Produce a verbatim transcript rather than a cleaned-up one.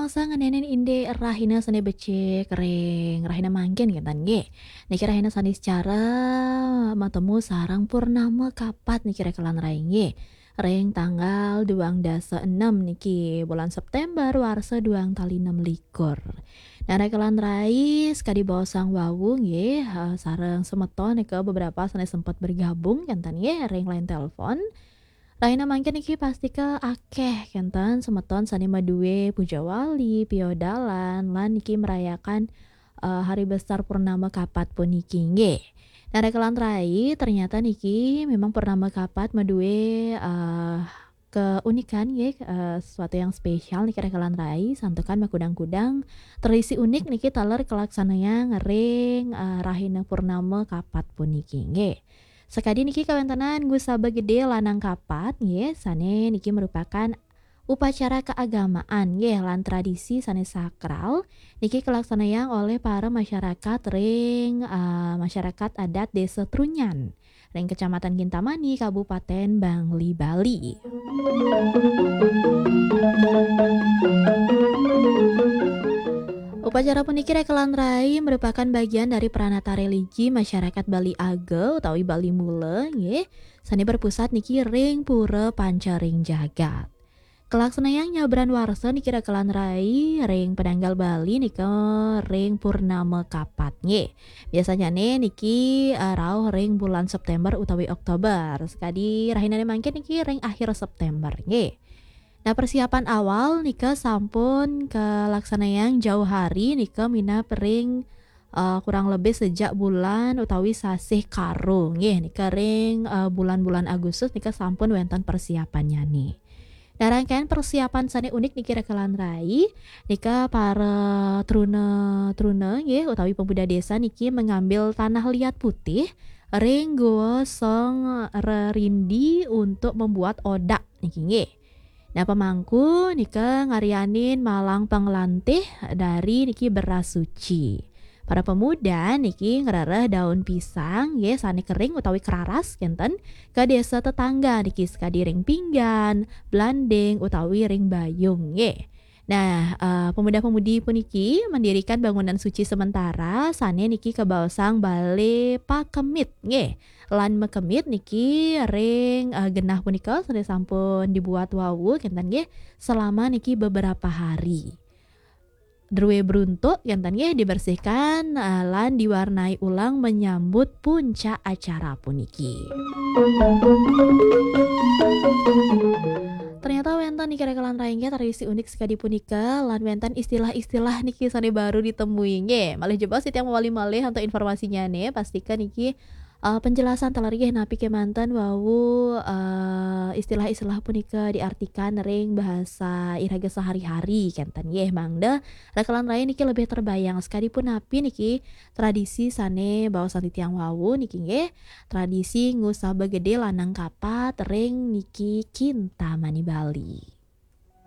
Sa ngeninin indik rahina sane becik ring rahina mangkin kinten nggih. Niki rahina sane secara matemu sareng purnama kapat niki rekelan rai nggih. Ring tanggal duang dasa enem niki bulan September warsa duang tali enam likur. Nah, rekelan rai sekadi baosang wau nggih, eh, sareng semeton nika beberapa sane sempat bergabung kinten nggih ring line telepon. Rahina mangkin niki pastika akeh kenten semeton sane madue puja wali, piodalan, lan niki merayakan, eh, hari besar purnama kapat puniki nggih. Nah, rekelan rai, ternyata niki memang purnama kapat madue, eh, keunikan nggih, eh, sesuatu yang spesial niki rekelan rai, santukan makudang-kudang tradisi unik niki taler kalaksanayang ring, eh, rahina purnama kapat puniki nggih. Sakadi niki kawentenan ngusaba gede lanang kapat nggih, sane niki merupakan upacara keagamaan nggih lan tradisi sane sakral niki kalaksanayang oleh para masyarakat ring, eh, masyarakat adat Desa Trunyan ring Kecamatan Kintamani, Kabupaten Bangli, Bali. Upacara puniki rekelan rai merupakan bagian dari pranata religi masyarakat Bali Aga utawi Bali Mula nggih, sane berpusat niki ring Pura Panca ring Jagat. Kalaksanayang nyabran warsa niki rekelan rai ring penanggal Bali nika ring purnama kapat nggih. Biasanyane niki, eh, rauh ring bulan September utawi Oktober. Sakadi rahinane mangkin niki ring akhir September nggih. Nah, persiapan awal nika sampun kalaksanayang jauh hari nika minab ring, eh, kurang lebih sejak bulan utawi sasih Karo nggih, nika ring, eh, bulan-bulan Agustus nika sampun wenten persiapannyane. Nah, rangkaian persiapan sane unik niki rekelan rai, nika para truna-truna nggih utawi pemuda desa niki mengambil tanah liat putih ring Goa Song Rerindi untuk membuat odak niki nggih. Nah, pemangku nika ngaryanin malang panglantih dari niki beras suci. Para pemuda niki ngrereh daun pisang nggih sane kering utawi keraras kenten ke desa tetangga niki sakadi ring Pinggan, Blanding utawi ring Bayung nggih. Nah, eh, pemuda-pemudi puniki mendirikan bangunan suci sementara sane niki kabaosang bale pakemit nggih. Lan makemit niki ring, eh, genah punika sane sampun dibuat wau kenten nggih selama niki beberapa hari. Drue beruntuk kenten nggih dibersihkan, eh, lan diwarnai ulang menyambut puncak acara puniki. Ternyata wenten niki rekelan rai nggih tradisi unik sekadi punika, lan wenten istilah-istilah niki sane baru ditemui nggih. Malih jebos titiang mawali malih untuk informasinyane, pastika niki, eh, penjelasan taler nggih napi kemanten wau, eh, istilah-istilah punika diartikan ring bahasa iraga sehari-hari kenten nggih, mangda rekelan rai niki lebih terbayang sekadi punapi niki tradisi sane baosan titiang wau niki nggih, tradisi ngusaba gede lanang kapat ring niki Kintamani Bali.